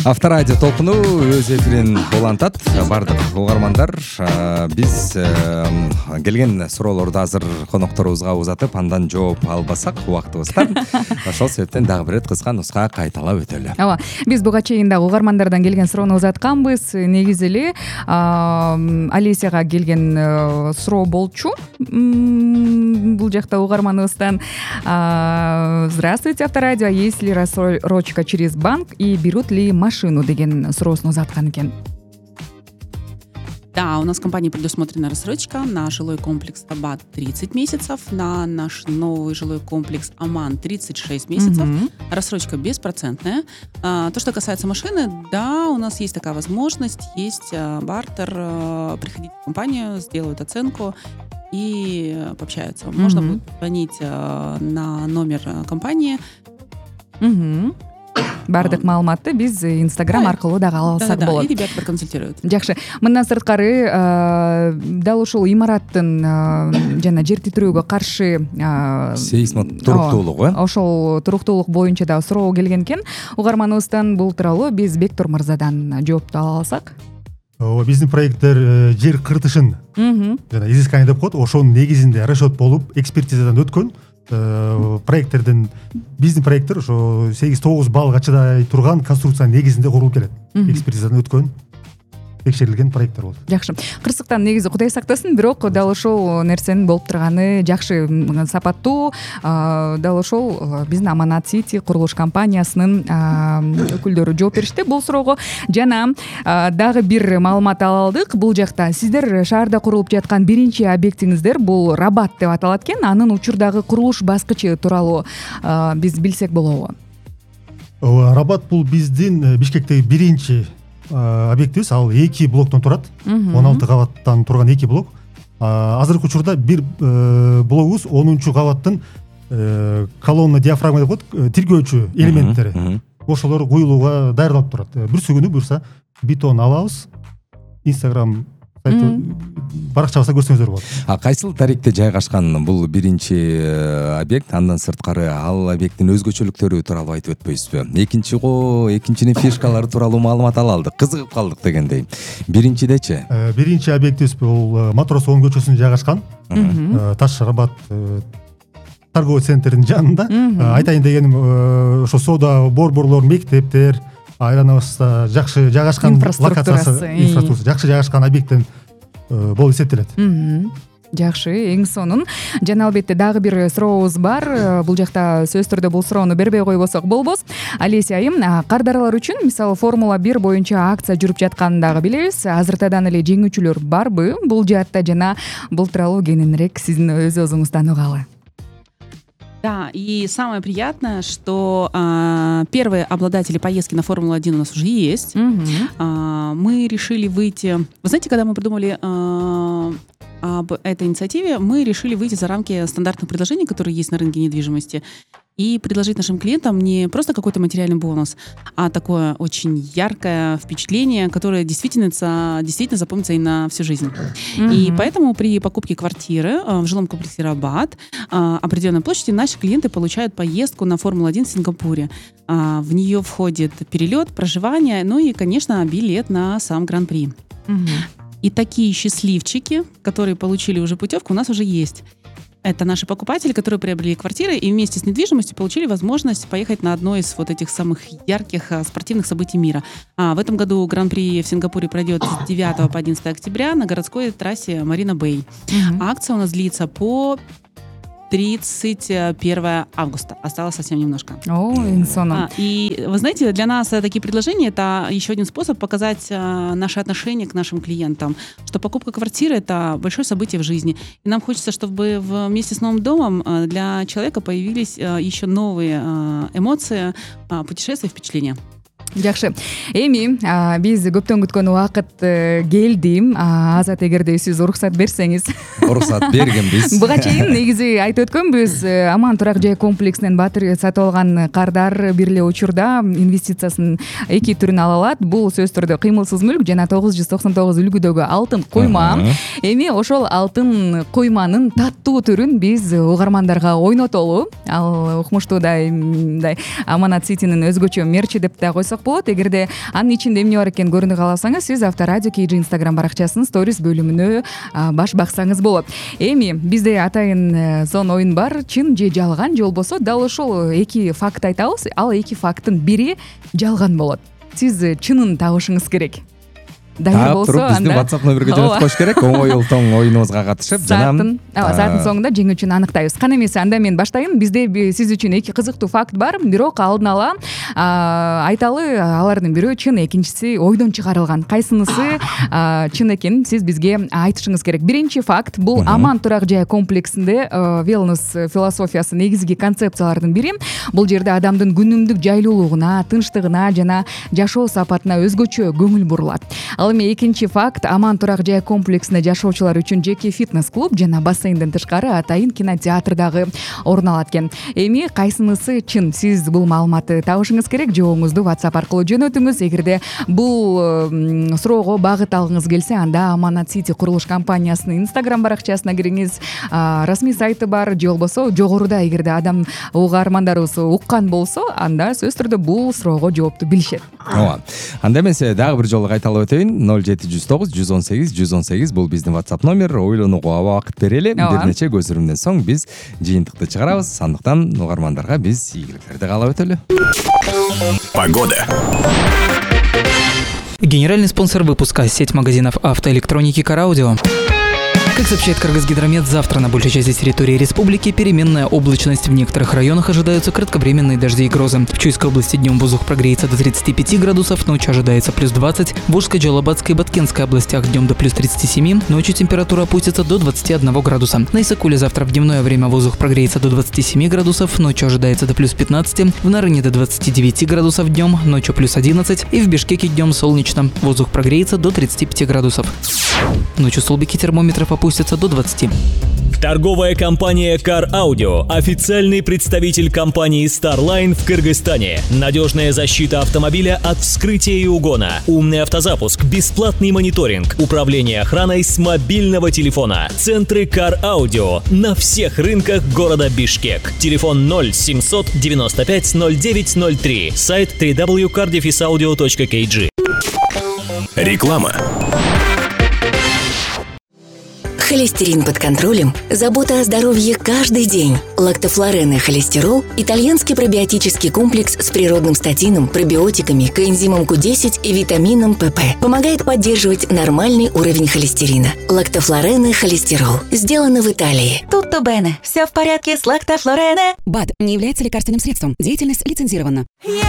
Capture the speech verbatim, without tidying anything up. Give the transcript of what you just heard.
Авторадио толкуну өз эфирин улантат. Бардык угармандар, биз келген суроолорду азыр конокторубузга узатып, андан жооп албасак убактыбызда. Ошол себептен дагы бир рет кыска нуска кайталап өтөлү. Ооба, биз буга чейин дагы угармандардан келген суроону узатканбыз. Негизи эле Алесияга келген суроо болчу. Бул жакта угарманыбыздан: здравствуйте, Авторадио, есть ли рассрочка через банк и берут ли машину, деген суроосун узаткан экен. Да, у нас в компании предусмотрена рассрочка на жилой комплекс Абат тридцать месяцев, на наш новый жилой комплекс Аман тридцать шесть месяцев. Mm-hmm. Рассрочка беспроцентная. А, то, что касается машины, да, у нас есть такая возможность, есть а, бартер, а, приходить в компанию, сделают оценку и пообщаются. Mm-hmm. Можно будет звонить а, на номер компании. Mm-hmm. Бардык маалыматты биз Инстаграм аркылуу дагы ала алсак болот. Да, и ребята проконсультируют. Жакшы. Мындан сырткары дал ушул имараттын жана жер титирөөгө каршы сейсмик туруктуулугу, ошол туруктуулук боюнча дагы суроо келген экен. Угарманыбыздан бул тууралуу биз Бектур мырзадан жоопту ала алсак. Ооба, биздин проекттер жер кыртышын жана изыскание деп коет. Ошонун негизинде расчет болуп, экспертизадан өткөн. Проекттерден биздин проекттер ошо сегиз тогуз баллга чыдай турган конструкциянын негизинде курулуп келет. Экспертизадан өткөн, текшерилген проекттер болот. Жакшы. Кырсыктан негизи Кудай сактасын, бирок дал ошол нерсенин болуп турганы жакшы, сапаттуу. Дал ошол биздин Аманат Сити курулуш компаниясынын өкүлдөрү жооп беришти бул суроого. Жана дагы бир маалымат ала алдык. Бул жакта сиздер шаарда курулуп жаткан биринчи объектиңиздер бул Рабат деп аталат экен. Анын учурдагы курулуш баскычы тууралуу биз билсек болобу? Ооба, Рабат бул биздин Бишкектеги биринчи объектибиз. Ал эки блоктон турат. он алты кабаттан турган эки блок. Азыркы учурда бир блогубуз онунчу кабаттын колонна диафрагма деп коет, тиргөөчү элементтери. Ошолор куюлууга даярдалып турат. Бүрсү күнү буюрса бетон алабыз. Инстаграм сайты баракчабызда көрсөңүздөр болот. А кайсыл тарихте жайгашкан бул биринчи объект? Андан сырткары ал объекттин өзгөчөлүктөрү тууралуу айтып өтпөйсүзбү? Экинчи го, экинчинин фишкалары тууралуу маалымат ала алдык. Кызыгып калдык дегендей. Биринчидечи? Биринчи объектибиз бул Матрос он көчөсүндө жайгашкан. Таш Рабат торговый центрдин жанында. Айтайын дегеним, ошо соода борборлор, мектептер, айланабызда жакшы жайгашкан локациясы, инфраструктурасы жакшы жайгашкан объекттен болуп эсептелет. Жакшы, эң сонун. Жана албетте дагы бир сурообуз бар. Бул жакта сөз түрдө бул суроону бербей койбосок болбос. Алесия айым, кардаралар үчүн, мисалы Формула бир боюнча акция жүрүп жатканын дагы билебиз. Азыртадан эле жеңүүчүлөр барбы бул жаатта, жана бул тууралуу кененирээк сиздин өз өзүңүздөн угалы? Да, и самое приятное, что а, первые обладатели поездки на Формулу один у нас уже есть. Mm-hmm. А, мы решили выйти... Вы знаете, когда мы придумали а, об этой инициативе, мы решили выйти за рамки стандартных предложений, которые есть на рынке недвижимости, и предложить нашим клиентам не просто какой-то материальный бонус, а такое очень яркое впечатление, которое действительно, действительно запомнится и на всю жизнь. Mm-hmm. И поэтому при покупке квартиры в жилом комплексе Рабат определенной площади наши клиенты получают поездку на Формулу один в Сингапуре. В нее входит перелет, проживание, ну и, конечно, билет на сам Гран-при. Mm-hmm. И такие счастливчики, которые получили уже путевку, у нас уже есть. Это наши покупатели, которые приобрели квартиры и вместе с недвижимостью получили возможность поехать на одно из вот этих самых ярких спортивных событий мира. А в этом году Гран-при в Сингапуре пройдет с девятого по одиннадцатое октября на городской трассе Марина Бэй. Mm-hmm. Акция у нас длится по тридцать первого августа. Осталось совсем немножко. О, инсона. А, и вы знаете, для нас такие предложения — это еще один способ показать а, наше отношение к нашим клиентам, что покупка квартиры — это большое событие в жизни. И нам хочется, чтобы вместе с новым домом а, для человека появились а, еще новые а, эмоции, а, путешествия, впечатления. Жакшы. Эми биз көптөн күткөн убакыт келди. Азат, эгерде сиз уруксат берсеңиз. Уруксат бергенбиз. Буга чейин негизи айтып өткөнбүз, Аман турак жай комплексинен Батыр сатып алган кардар бир эле учурда инвестициясынын эки түрүн ала алат. Бул сөз түрдө кыймылсыз мүлк жана тогуз жүз токсон тогуз үлгүдөгү алтын койма. Эми ошол алтын койманын таттуу түрүн биз угармандарга ойнотолу. Ал укмуштуудай Аманат Ситинин өзгөчө мерчи деп да койсок болот. Эгерде анын ичинде эмне бар экенин көрүнү кааласаңыз, сиз Авторадио кей джи Instagram баракчасынын сторис бөлүмүнө баш баксаңыз болот. Эми бизде атайын сон оюн бар, чын же жалган, же болбосо дал ошол эки факт айтабыз. Ал эки факттын бири жалган болот. Сиз чынын табышыңыз керек. Дайыр болсо, анда биздин WhatsApp номерге жөнөтүп коюш керек. Оңой ултоң оюнубузга катышып, жанагы сааттын соңунда жеңүүчүнү аныктайбыз. Кана эмесе, анда мен баштайын. Бизде сиз үчүн эки кызыктуу факт бар, бирок алдын ала айталы, алардын бирөө чын, экинчиси ойдон чыгарылган. Кайсынысы чын экенин сиз бизге айтышыңыз керек. Биринчи факт бул аман турак жай комплексинде wellness философиясы негизги концепциялардын бири. Бул жерде адамдын күнүмдүк жайлуулугуна, тынчтыгына жана жашоо сапатына өзгөчө көңүл бурулат. Ал эми экинчи факт, аман турак жай комплексинде жашоочулар үчүн жеке фитнес-клуб жана бассейнден тышкары атайын кинотеатр дагы орун алат экен. Эми кайсынысы чын? Сиз бул маалыматты табышыңыз керек. Жообуңузду WhatsApp аркылуу жөнөтүңүз. Эгерде бул суроого багыт алгыңыз келсе, анда Аманат Сити курулуш компаниясынын Instagram баракчасына кириңиз. Расмий сайты бар, же болбосо жогоруда эгерде адам угармандарыбыз уккан болсо, анда сөзсүз түрдө бул суроого жоопту билишет. Ооба. Анда эмесе дагы бир жолу кайталап өтөйүн. ноль жети жүз тогуз жүз он сегиз жүз он сегиз бул биздин WhatsApp номер. Ойлонууга убакыт берели. Бир нече көзүрүмдөн соң биз жыйынтыкты чыгарабыз. Андыктан угармандарга биз ийгиликтерди каалап өтөлү. Погода. Генеральный спонсор выпуска — сеть магазинов автоэлектроники «Караудио». Как сообщает Кыргызгидромет, завтра на большей части территории республики переменная облачность. В некоторых районах ожидаются кратковременные дожди и грозы. В Чуйской области днем воздух прогреется до тридцати пяти градусов, ночью ожидается плюс двадцать. В Волжской, Джалабадской и Баткенской областях днем до плюс тридцати семи, ночью температура опустится до двадцати одного градуса. На Исакуле завтра в дневное время воздух прогреется до двадцати семи градусов, ночью ожидается до плюс пятнадцати. В Нарыне до двадцати девяти градусов днем, ночью плюс одиннадцать. И в Бишкеке днем солнечно. Воздух прогреется до тридцати пяти градусов. Ночью в Столбике термометров опустятся до двадцати. Торговая компания Car Audio, официальный представитель компании Starline в Кыргызстане. Надежная защита автомобиля от вскрытия и угона, умный автозапуск, бесплатный мониторинг, управление охраной с мобильного телефона. Центры Car Audio на всех рынках города Бишкек. Телефон ноль семьсот девяносто пять ноль девять ноль три. Сайт дабл ю дабл ю дабл ю точка кар дефис аудио точка кей джи. Реклама. Холестерин под контролем. Забота о здоровье каждый день. Лактофлорен и холестерол – итальянский пробиотический комплекс с природным статином, пробиотиками, коэнзимом ку десять и витамином пэ пэ. Помогает поддерживать нормальный уровень холестерина. Лактофлорен и холестерол. Сделано в Италии. Tutto bene. Все в порядке с лактофлорене. БАД не является лекарственным средством. Деятельность лицензирована. Yeah.